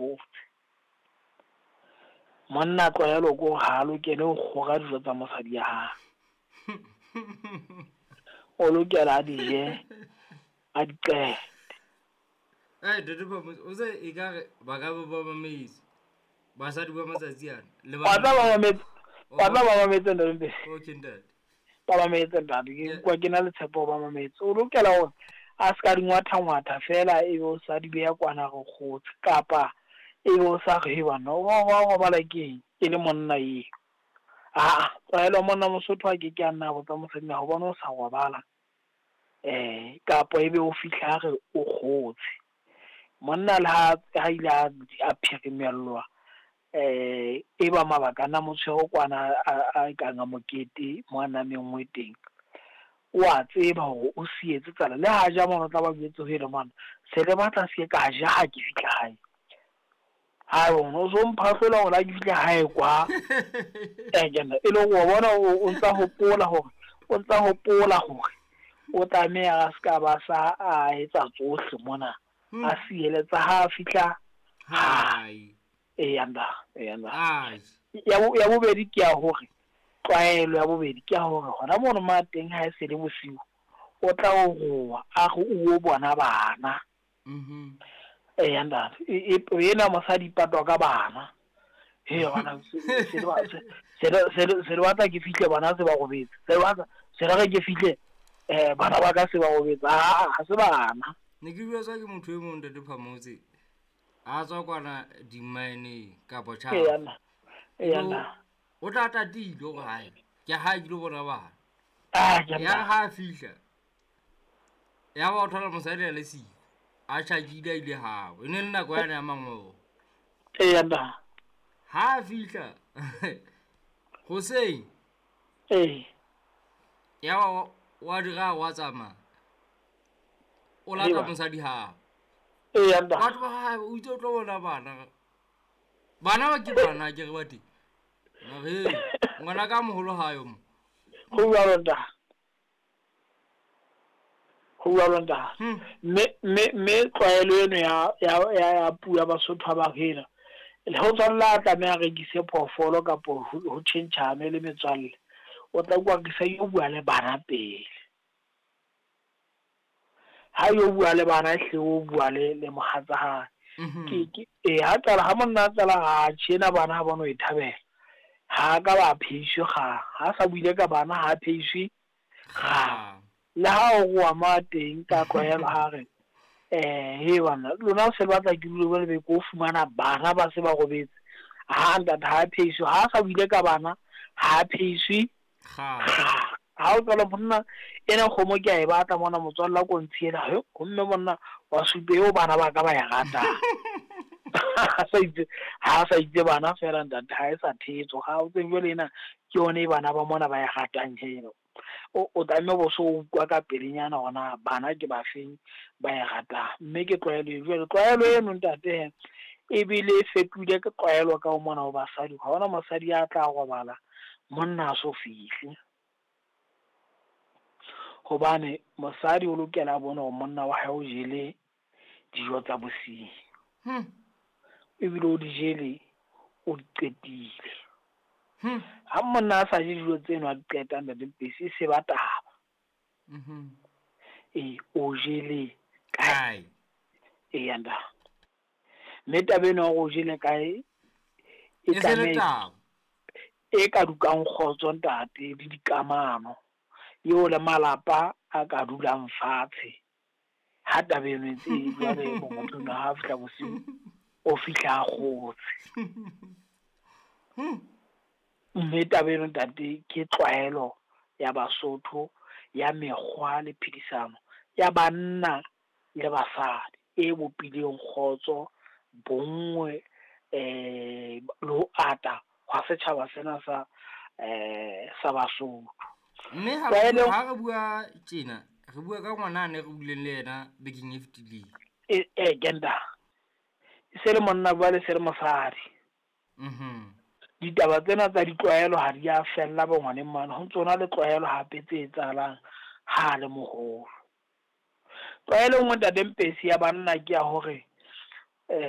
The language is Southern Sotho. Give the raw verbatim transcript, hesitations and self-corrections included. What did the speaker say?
kgotse. Monna tlwaelo ko ha lokele ho kgora dijo tsa mosadi ya hae. O lokela a di je, a di qete. Eh, Ntate Phamotse, o se ekare ba ka ba ba mametse basadi ba matsatsi ana le Wa tla ba mametse, wa tla ba mametse Ntate Mpesi. Okay, ntate. Ba mametse ntate, ke Yeah. kwa ke na le tshepo ba mametse. O lokela hore a ska di ngwatha-ngwatha fela ebe o sa di beha kwana re kgotse, kapa ebe o sa re bana wa wa robala keng e le monna eo. Ah, tlwaelo monna Mosotho a ke ke a nna botsa mosadi na hobane o sa robala, eh kapa ebe o fihla re o kgotse. Monna le ha ha ile a a phirimellwa, eh e ba mabaka na motshwere kwana a a kang a mokete mo a nameng teng. O a tseba hore o sietse tsala le ha ja mona tla ba jwetse ho ile mona se le batla se ka ja ha ke fihla hae. Ha bona o so mphahlola hore ha ke fihla hae kwa. Eh ke nna e le hore wa bona o ntsa hopola hore o ntsa hopola hore o tlameha a ska ba sa a etsa tsohle mona. A sieletsa ha fihla hae. E yanda, e yanda. Ai. Ya bo, ya bobedi ke ya hore tlwaelo ya bobedi ke ya hore hona mono ma teng ha e se le bosiu o tla o roa a re o bona bana. Mhm. E yanda, e ena mosadi patwa ka bana. He bana se se se se se batla ke fihle bana se ba robetse. Se batla se re ke fihle eh bana ba ka se ba robetse. Ah, ha se bana. Ne ke bua ke motho e mong Ntate Phamotse a tswa kwana di-mine kapa tjha. E yana. E yana. O tla tatile hore hae ke ha ke lo bona bana. Ah, ke Ya ha fihla. Ya ba o thola mosadi a le siko. A tjhakile a ile hao. E ne le nako yane ya mangolo. E yana. Ha fihla. Hoseng. Eh. Ya ba wa dira wa tsamaya. O lata mosadi hao. E yana. Batho ba hae o itse o tlo bona bana. Bana ba ke bana ke re ba teng. Re ngwana ka moholo ha yo mo. Ho bua nta. Ho bua nta. Mme mme mme tlwaelo eno ya ya ya puo ya Basotho ba hela. Le ho tswalla tlameha rekise phoofolo kapa ho tjhentjhane le metswalle. O tla kwa ke sa yo bua le bana pele. Ha yo bua le bana hle o bua le le mohatsa hae. Ke ke e ha tsala ha monna tsala ha tjena bana ha bona o e thabela. Ha ka ba pheiswe ga ha sa buile ka bana ha pheiswe ga. Le ha o roa ma teng ka tlwaelo ha re eh he bana lona se batla ke dule le be ko fumana bana ba se ba robetse. Ha ntate ha pheiswe ha sa buile ka bana ha pheiswe ga. Ha o tsala monna ena kgomo ke a e batla mona motswalla ko ntshiela he homme monna wa supe eo bana ba ka ba ya rata. Ha sa itse ha sa itse bana fela ntate ha e sa thetso ha o tseng jwale ena ke yone bana ba mona ba ya ratang heno. O o tlameha bo so utlwa ka pelenyana hona bana ke ba feng ba ya ratang. Mme ke tlwaelo jwale tlwaelo eno ntate e bile e fetohile ke tlwaelo ka o mona ho basadi. Ha hona mosadi ya tla robala monna a so fihle. Hobane mosadi o lokela a bone hore monna wa hae o jele dijo tsa bosiu. Hmm. Ebile o di jele o di qetile. Hmm. Ha monna a sa je dijo tseno a di qeta ntate Mpesi e se ba taba. Mhm. E o jele kae? E yanda. Mme taba eno ya hore o jele kae e E se le tlameha taba. e ka dukang kgotso ntate le dikamano. Eo le malapa a ka dulang fatshe. Ha taba eno e ntse e jwale motho no ha fihla bosiu o fihla a kgotse. Hmm. Mme taba eno ntate ke tlwaelo ya Basotho ya mekgwa le phedisano ya banna le basadi e bopileng kgotso, bonngwe, eh le ho ata hwa setjhaba sena sa eh sa Basotho. Mme ha Tlwaelo ha re bua tjena, re bua ka ngwana ne re buileng le yena bekeng e fetileng. E e genda. E se le monna bua le se le mosadi. Mhm. Ditaba tsena tsa ditlwaelo ha di a fella bo ngwaneng mane, ho ntso na le tlwaelo hape tse etsahalang ha le moholo. Tlwaelo e nngwe ntate Mpesi ya banna ke ya hore